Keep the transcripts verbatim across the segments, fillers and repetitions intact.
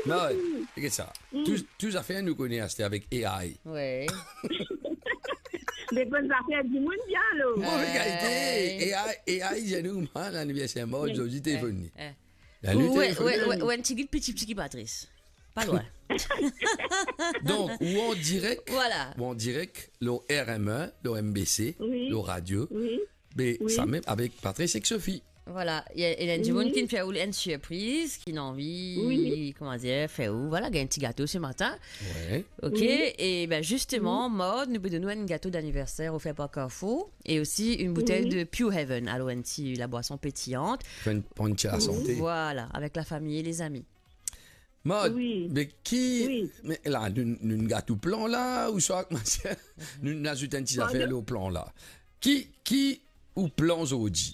Non, wi, se sa. Mm. Tou, tou zafer nou kone aster avek A I. Wi. Depi zafer dimoun bien, alor. Bon, regardez, Ouais. A I, A I, Jeanne, man, laniverser Mode, Ouais. Jodi, Ouais. Téléphone. Ouais. La nuit, Ouais, téléphone. Ouais, ouais, ouais, un petit guide, petit, petit, Patrice. Pas loin. Donc, ou en direct, Voilà. Ou en direct, le R M un, le M B C, Oui. Le radio. Oui. Mais Oui. Ça même avec Patrice et Sophie. Voilà, il y a, il y a une Oui. Qui fait une surprise, qui a envie, Oui. Comment dire, faire ou, voilà, il y a un petit gâteau ce matin. Ouais. Ok, Oui. Et ben justement, Oui. Mode, nous donnons un gâteau d'anniversaire offert par Carrefour et aussi une bouteille Oui. De Pure Heaven. Alors, un petit, la boisson pétillante. Pour une, pour une petite Oui. Santé. Voilà, avec la famille et les amis. Mode, Wi. Me ki, Wi. Me la, nou, nou gagn plan la, ouswa, kouma nou azout enn ti Pardon? Zafer lor plan la. Ki, ki ou plan zordi?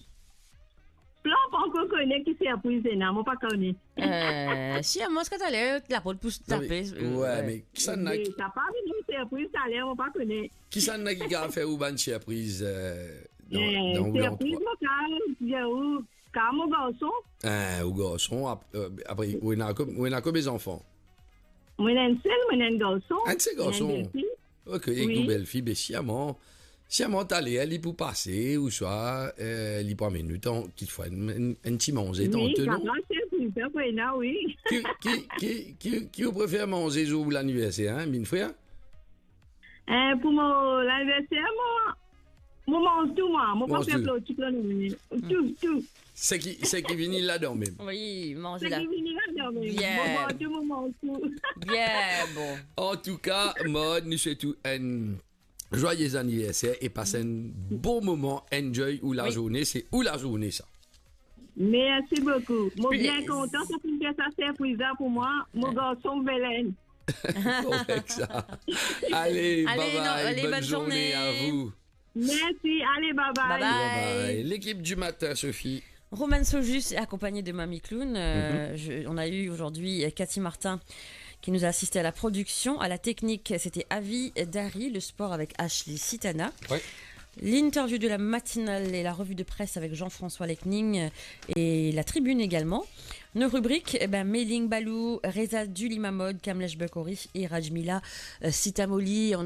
Plan, pa ankor kone ki sirpriz ena, mo pa kone. Eh, si, amwins ki taler, laport pou tape, eh, ouais, ouais. Me kisannla ki... Sa pa vinn sirpriz taler, mo pa kone. Kisannla ki kapav fer ou bann sirpriz, eh, dan, eh, dan ou sirpriz, landrwa? Mo kapav dir ou, Ka mo garson. Eh, ou garson, ap-, eh, apre, ou ena ko-, ou ena konbien zanfan? Mo ena enn sel, mo ena enn garson. Enn sel garson? Mo ena enn belfi. Ok, ek ou belfi, be siaman, siaman taler, li pou pase, ouswa, eh, li pou amenn nou tan, kitfwa, enn, enn, enn ti manze, wi, tanto, non? Wi, sa va, se pou sa, pou ena, wi. Ki, ki, ki, ki, ki ou prefer manze zour ou laniverser, hein, minn frer? Eh, pou mo laniverser, mo, mo manz tou, mwa. Mo pa fer pli, tou. Manz tou. Pli, tou, tou. Seki, seki vini ladan mem. Wi, manze la. Seki vini ladan mem. Bien. Mo manz tou, mo manz tou. Bien, bon. Antouka, Mode, nou swet ou enn joyeux anniversaire e pas enn bon moman, enjoy ou lazourne, wi. Se ou lazourne, sa. Mersi boukou. Mo bien kontan, sa finn fer sa sirpriz la pou mwa, mo garson Belen. Korek sa. Ale, ale, bye bye, ale, bonne journée à vous. Mersi, ale, bye bye. Bye bye. Bye bye. L'équipe du matin, Sophie. Roman Sojus est accompagné de Mamie Clown. Euh, je, on a eu aujourd'hui, euh, Cathy Martin qui nous a assisté à la production. À la technique, c'était Avi Dari. Le sport avec Ashley Sitana. Oui. L'interview de la matinale et la revue de presse avec Jean-François Lecning et la tribune également. Nos rubriques, eh ben, Mailing Balou, Reza Dulima Mode, Kamlesh Bukori et Rajmila, euh, Sitamoli.